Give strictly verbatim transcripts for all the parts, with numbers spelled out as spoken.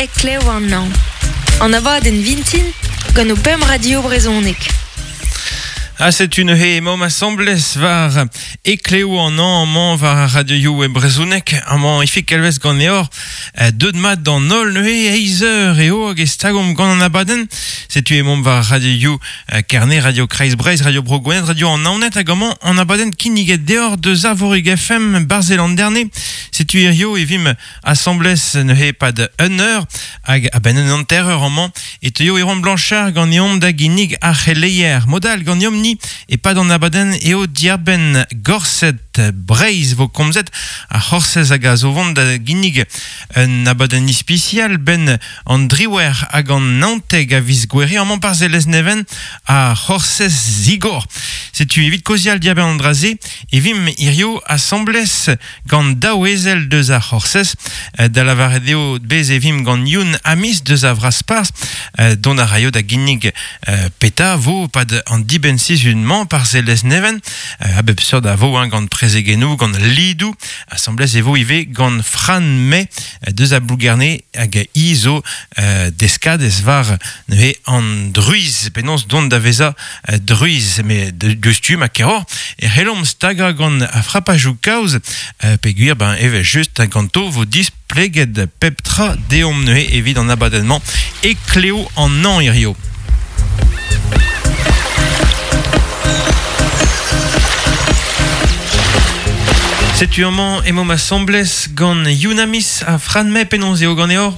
Heklev an an. An abadenn vintin gant o pemp radio brezhoneg. Ha setu neuze emaomp asambles war Heklev an an amañ war ar radioioù e brezhoneg amañ Ifig Kalvez ganeoc'h deut mat d'an holl neuze eizh eur eo hag e stagomp gant an abadenn. Setu emaomp war radioioù Kerne, Radio Kreiz Breizh, Radio Bro Gwened, Radio an Naoned hag amañ an abadenn kinniget deoc'h deus Arvorig F M Barzel an Derne. Setu hirio e vimp asambles neuze pad un eur hag a-benn un hanter eur amañ e teuio Erwan Blanchard ganeomp da ginnig ar c'heleier. Modal ganeomp ni e pad an abadenn eo diarbenn Gorsedd Breizh vo komzet ar c'horsez hag a zo vont da ginnig un abadenn ispisial ben an driwer hag an naontek a viz gouere amañ par Lesneven ar c'horsez zigor. Setu evit kozial diarbenn an draze e vim hirio asambles gant daou ezel deus ar c'horsez da lavaret eo bez e vim gant Youn Amis deus a Vraspars dont a raio da ginnig peta vo pad an dibenn sizhun-mañ par Lesneven a bep seurt a vo hein, gant prezegennoù, gant lidou, asambles e vo ivez gant Fran May deus a Blougerne hag i zo euh, deskadez war neuze an druiz, penaos dont da veza euh, druiz, me deus tu ma keror, e c'hellomp staga gant a frapajou kaoz, euh, peogwir ben evel just ganto vo displeget pep tra deomp neuze evit an abadenn-mañ Heklev an an hirio. Setu amañ emaomp asambles gant Youn Amis ha Fran May penaos eo ganeoc'h?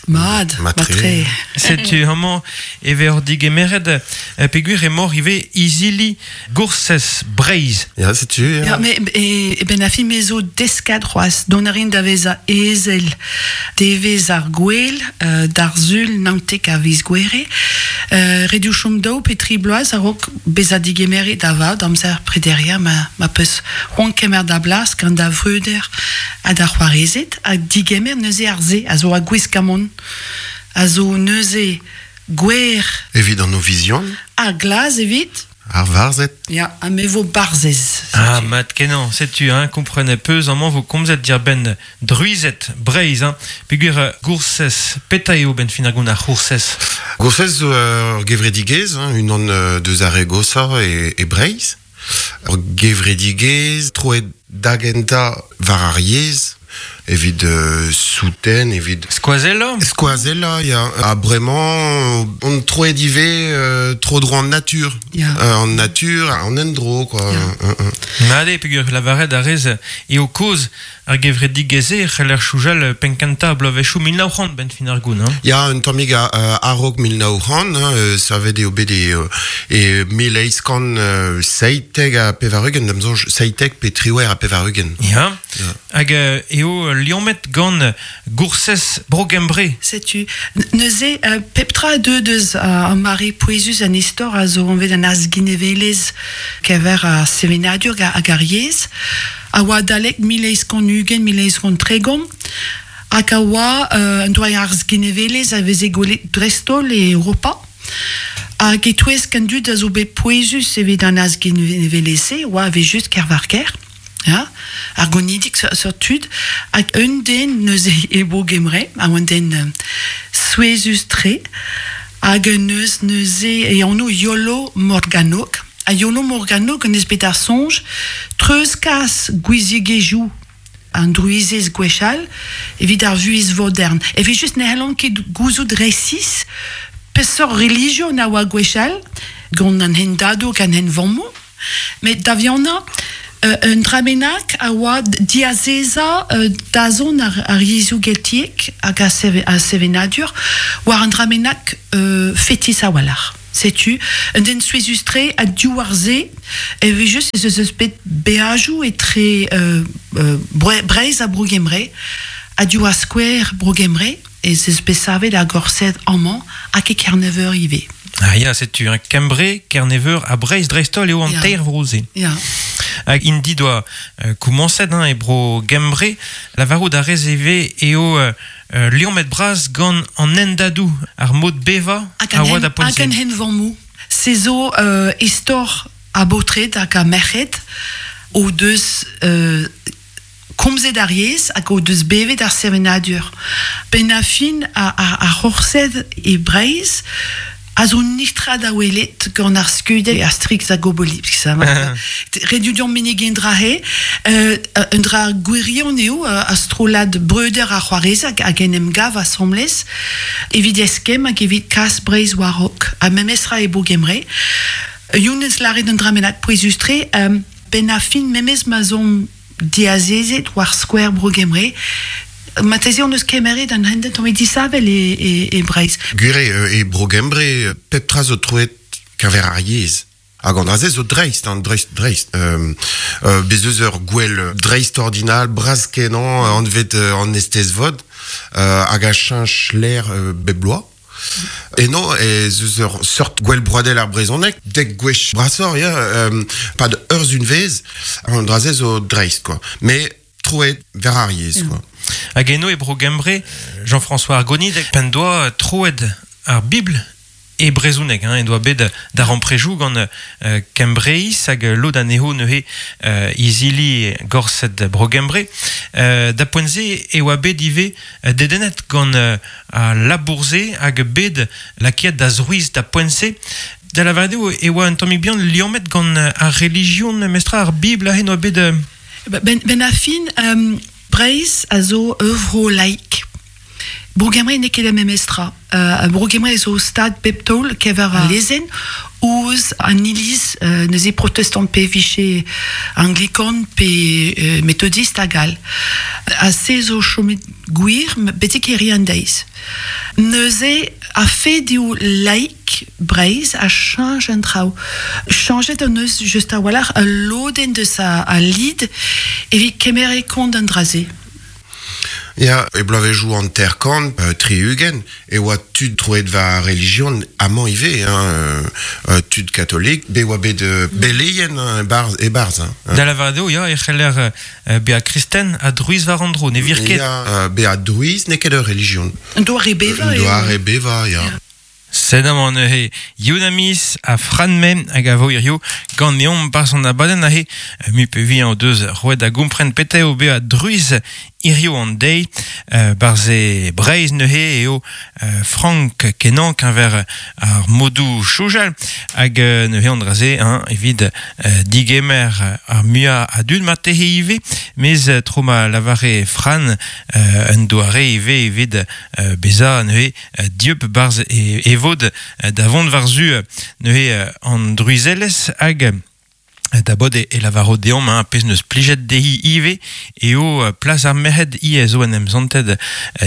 Mad, matre. Setu amañ e vez digemeret peogwir emaoc'h ivez izili Goursez Breizh. Ya, setu. Ya, ya me, e, e ben a fi me zo deskad c'hoazh, dont a rin da vezañ ezel devez ar gwel, euh, d'ar sul naontek a viz gouere, euh, redu chom daou pe tri bloaz a-raok bezañ digemeret da vat amzer prederia ma, ma peus c'hoant kemer da blas gant da vreuder ha da c'hoarezed ha digemer neuze ar se a zo a gwiskamont a zo neuze gwer evit an ovizion ar glaz evit ar varzed. Ya, ha me vo barzez. Ah, mat kenañ, setu, hein, komprenet peus amañ vo komzet diarbenn druized Breizh, hein, peogwir Goursez, petra eo ben fin ar gont ar c'hoursez? Goursez zo ur gevredigezh, hein, unan deus ar re gosañ e, e Breizh. Ur gevredigezh troet da gentañ war ar yezh, evit euh, souten, evit... Skoazella? Skoazella, ya. Ha bremañ, on troet ivez euh, tro dro an natur. Ya. Euh, an natur, an endro, quoi. Ya. Euh, euh. Made, peogwir lavaret a rez eo kozh ar gevredigezh-se c'heller soñjal penn-kentañ bloavezhioù mil nav c'hant ben fin ar goun, hein? Ya, un tammig a, euh, a-raok mil nav c'hant, hein, euh, savet eo bet e, e mil eizh kant euh, seitek ha pevar-ugent, da'm soñj seitek pe triwec'h ha pevar-ugent. Ya. Ya. Hag euh, eo liammet gant Goursez Bro-Gembre. Setu, neuze, euh, pep tra deu deus uh, an mare pouezus an istor a zo anvet an azginevelezh kever a sevenadur hag ar yezh, a oa adalek mil eizh kant ugent, mil eizh kant tregont, hag a oa euh, un doare azginevelezh a veze gwelet dreist-holl e Europa. Hag e-touesk an dud a zo bet pouezus evit an azginevelezh-se, oa ave just Kervarker. Ja, ar gonidik sur tud, hag un den neuze e Bro-Gembre, a un den euh, souezhus tre, hag un neus neuze e anv Iolo Morganwg. Ha Iolo Morganwg en eus bet ar soñj treuzkas gouiziegezhioù an druizez gwechall evit ar vuhez vodern. Evit just ne c'hellont ket gouzout resis peseurt relijion a oa gwechall gant an hendadoù gant an henvammoù, met da vihanañ Euh, un dra bennak a oa diazezañ euh, dazont ar, ar yezhoù geltiek hag a, seve, a sevenadur war un dra bennak euh, fetis a-walc'h. Setu, un den souezhus-tre ha div ar se, evit just ez eus bet beajoù etre euh, euh, Breizh ha Bro-Gembre, ha div ar skouer Bro-Gembre, ez eus bet savet ar Gorsedd amañ hag e Kerneveur ivez. Ah ya, setu, hein, Kembre, Kerneveur ha Breizh dreist-holl eo an Ya. teir vro-se. Ya. Hag indi doa euh, komañset, hein, e Bro-Gembre, lavarout a rez ivez eo euh, euh, liammet bras gant an hendadoù, ar mod bevañ Hag a an oa hen, da hag an poent-se. henvammoù. Se zo euh, istor a baotred hag a merc'hed o deus euh, komzet ar yezh hag o deus bevet ar sevenadur. Ben a fin a, a, a c'horsed e Breizh a zo nitra da welet gant ar skeudenn Asterix hag Obelix. Ret eo menegiñ dra he, euh, un dra gwirion eo a strollad breuder ar c'hoarez hag hag en em gav asambles evit eskemm hag evit kas Breizh war-raok. Ha memes ra e Bro Gembre. Youn eus lâret un dra bennak pouezus-tre, euh, ben a fin memes ma zon diazezet war skouer Bro Gembre, marteze hon eus kemeret an hentenn tamm disheñvel e, e, e Breizh. Gwir eo, e Bro Gembre, pep tra zo troet keñver ar yezh. Hag an dra-se zo dreist, hein, dreist, dreist. Euh, euh, bez eus ur gwel dreist ordinal, bras kenañ, anvet euh, an Eisteddfod, euh, hag a cheñch lec'h euh, bep bloaz. Eno, ez eus ur seurt gwel broadel ar brezhoneg, dek gwech brasoc'h, ya, euh, pad ur sizhunvezh, an dra-se zo dreist, quoi. Mais troet war ar yezh, quoi. Hag eno e Bro Gembre, Jean-François Argonid, p'en doa troet ar Bibl e brezhoneg, hein, en doa bet darempredoù gant euh, Kembreiz hag lod anezho neuze euh, izili gorsedd Bro Gembre. Euh, da poent-se e oa bet ivez dedennet gant euh, al labour-se hag bet lakaet da zrouiz da poent-se. Da lavaret eo e oa un tammig bihan liammet gant ar relijion mestra ar Bibl aze oa bet... Euh... Ben, ben a fin, um, Breizh a zo ur vro laik. Bro Gembre n'eo ket ar memes tra. Uh, Bro Gembre zo stag bep taol keñver ar lezenn ouzh an iliz uh, neuze protestant pe vije anglikan pe uh, metodist hag all. Ha se zo chomet gwir betek hiziv an deiz. Neuze ar fed eo laik Breizh a cheñch an traoù. Chañchet hon eus just a-walc'h ul lodenn deus a, a lid evit kemer e kont an dra-se. Ya, e bloavezhioù hanter-kant, euh, tri-ugent, e oa tud troet war relijion amañ ivez, hein, euh, tud katolik, be oa bet euh, beleien hein, e-barzh, e-barzh. Hein. Da lavaret eo, ya, e c'heller euh, bezañ kristen ha drouiz war an dro, ne vir ket. Ya, euh, bezañ drouiz n'eo ket ur relijion. Un doare bevañ Un doare bevañ, ya. Ya. Sed amañ neuze Youn Amis ha Fran Menn hag a vo hirio ganeomp 'barzh an abadenn aze mui pe vui o deus roet da gompren petra eo bezañ drouiz hirio an deiz euh, 'barzh e Breizh neuze eo euh, frank kenañ keñver ar modoù soñjal hag euh, neuze an dra-se hein, evit euh, digemer ar muiañ a dud marteze ivez mez tro ma lavare Fran euh, un doare ivez evit euh, bezañ neuze dieub 'barzh e, e vod da vont war-zu neuze an drouizelezh hag da bod e, e lavaro deomp hein, pezh neus plijet dehi ivez eo plas ar merc'hed i zo en em zantet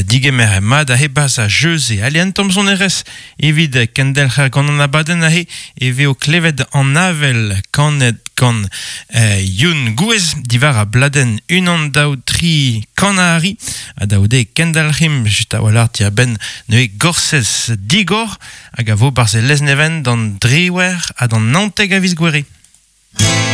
digemer mat aze 'barzh a jeu-se. Ale an tamm sonerezh evit kendelc'her gant an abadenn aze e veo klevet an avel kanet gant euh, Youn Gouez diwar a bladenn unan daou tri kanari ha da c'houde kendelc'himp just a-walc'h diàr-benn neuze Gorsez Digor hag a vo 'barzh e Lesneven d'an driwec'h ha d'an naontek a viz Gouere.